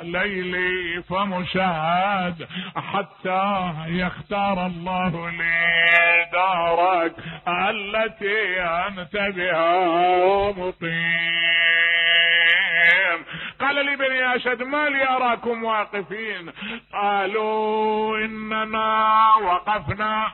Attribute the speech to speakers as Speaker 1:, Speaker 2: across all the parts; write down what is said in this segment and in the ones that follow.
Speaker 1: ليلي فمشاهد حتى يختار الله لي دارك التي أنت بها مقيم. قال لي بني أشد ما لي أراكم واقفين؟ قالوا إننا وقفنا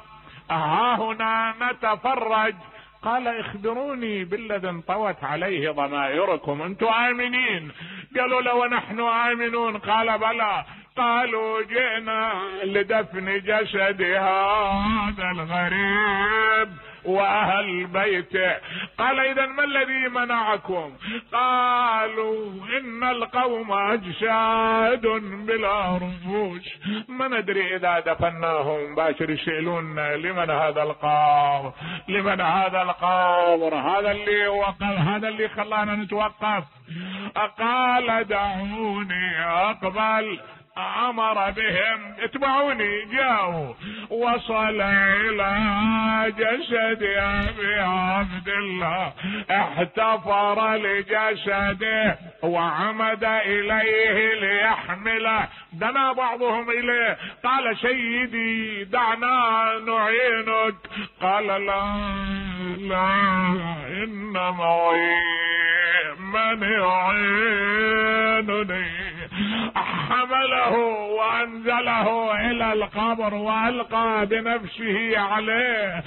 Speaker 1: ها هنا نتفرج. قال اخبروني بالذي انطوت عليه ضمائركم، انتم آمنين؟ قالوا له ونحن آمنون. قال بلى. قالوا جئنا لدفن جسد هذا الغريب واهل بيته. قال اذا ما الذي منعكم؟ قالوا ان القوم اجساد بلا روح، ما ندري اذا دفناهم باشر يسألون لمن هذا القبر، لمن هذا القبر، هذا اللي وقف، هذا اللي خلانا نتوقف. قال دعوني اقبل. امر بهم اتبعوني. جاءوا وصل الى جسد ابي عبد الله، احتفر لجسده وعمد اليه ليحمله. دنا بعضهم اليه. قال سيدي دعنا نعينك. قال لا انما من يعينني. حمله وانزله الى القبر والقى بنفسه عليه.